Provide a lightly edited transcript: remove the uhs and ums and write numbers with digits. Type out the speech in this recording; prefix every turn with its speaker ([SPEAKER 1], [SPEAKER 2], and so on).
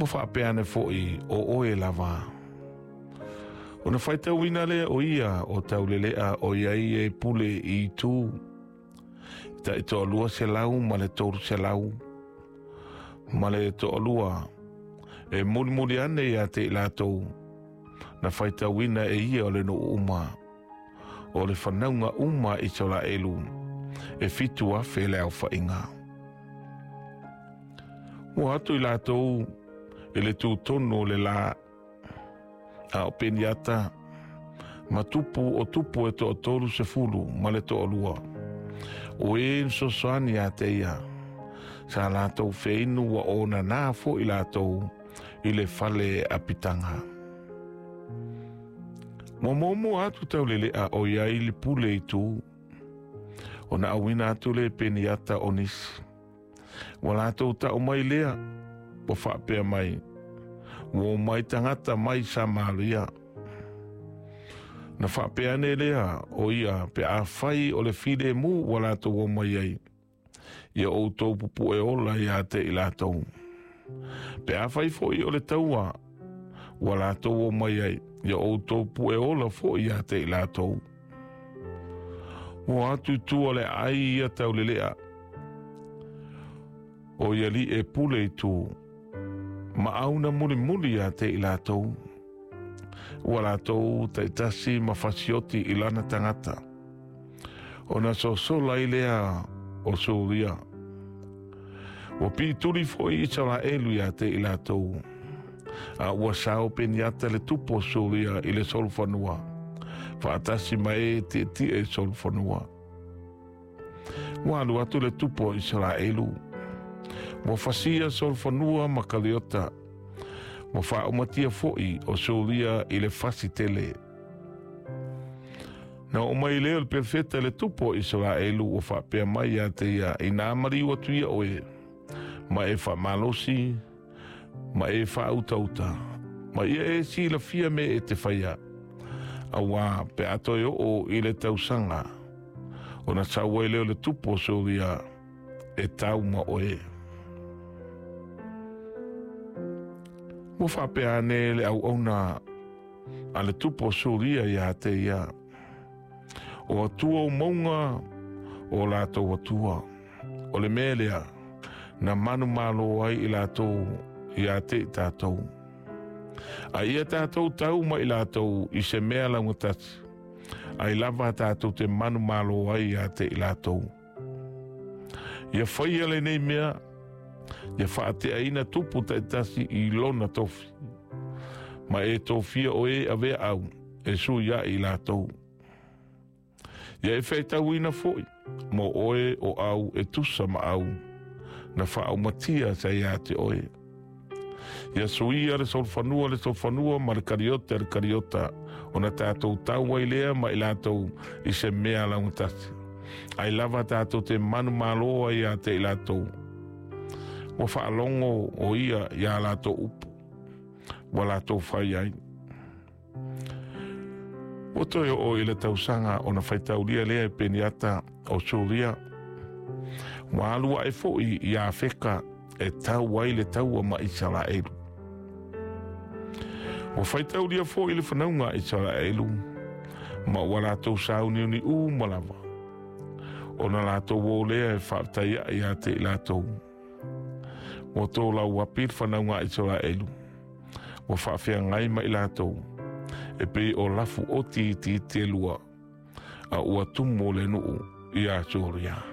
[SPEAKER 1] Ua faapea ane foi, O oe lava. Ona faitauina lea o ia o Taulelea ʻoiai e pule i itu tai 232 e mulimuli ane ia te i latou na faitauina e ia o le nuu uma o le fanauga uma a Isaraelu e 7,000 le aofaiga. Ua atu i latou i le tutonu o le la, a o Peniata ma tupu o tupu e 32, o e na fesoasoani ia te ia, sa latou feinu ua onana foi latou i le fale apitaga. Ua muamua atu Taulelea ʻoiai le pule i tu, ona auina atu le Peniata o nisi. Ua latou tau mai lea, ua faapea mai, Ua omai tagata mai Samaria. Na faapea ane lea o ia pe afai o le filemu ua latou omai ai, ia outou pupue ola ia te i latou. Pe afai foi o le taua ua latou omai ai, ia outou pue ola foi ia te i latou. Ua atu i tua le aai ia Taulelea, o ia li e pule i tu, ma auna mulimuli ia te i latou. Ua latou taitasi ma fasioti i lana tagata. Ona sosola ai lea o Suria. Ua piituli foi Isaraelu ia te i latou. A ua sao Peniata le tupu o Suria i le solofanua, faatasi ma e tietie i solofanua. Ua alu atu le tupu o Isaraelu. Ua fasia solofanua ma Kaliota. Ua faaumatia foi o Suria i le fasi tele. Na oo mai lea o le perofeta i le tupu o Isaraelu ua faapea mai ia te ia, Inā maliu atu ia oe, ma e faamalosi, ma e faautauta, ma ia e silafia mea e te faia, auā pe a toe oo i le tausaga, ona sau ai lea o le tupu o Suria e tau ma oe. Ua faapea ane le auauna a le tupu o Suria ia te ia, O atua o mauga o latou atua, o le mea lea na manumalo ai i latou ia te i tatou. A ia tatou tau ma i latou i se mea laugatasi, ai lava tatou te manumalo ai ia te i latou. Ia faia lenei mea, ia faateaina tupu taitasi i lona tofi, ma e tofia o e avea au e sui ai i latou. Ia e faitauina foi mo oe o au e tusa ma au na faaumatia sa ia te oe. Ia suia le solofanua le solofanua ma le kariota le kariota, ona tatou tau ai lea ma i latou i se mea laugatasi. Ai lava tatou te manumalo ai ia te i latou. Ua faalogo o ia ia latou upu, ua latou fai ai. Ua toe oo i le tausaga ona faitaulia lea e Peniata o Suria. Ua alu ae foi i Afeka e tau ai le taua ma Isaraelu. Ua faitaulia foi le fanauga a Isaraelu, ma ua latou sauniuni uma lava, ona latou o lea e faafetai ia te i latou. Ua tolauapi le fanauga a Isaraelu, ua faafeagai ma i latou, e pei o lafu oti itiiti e lua, a ua tumu le nuu ia Suria.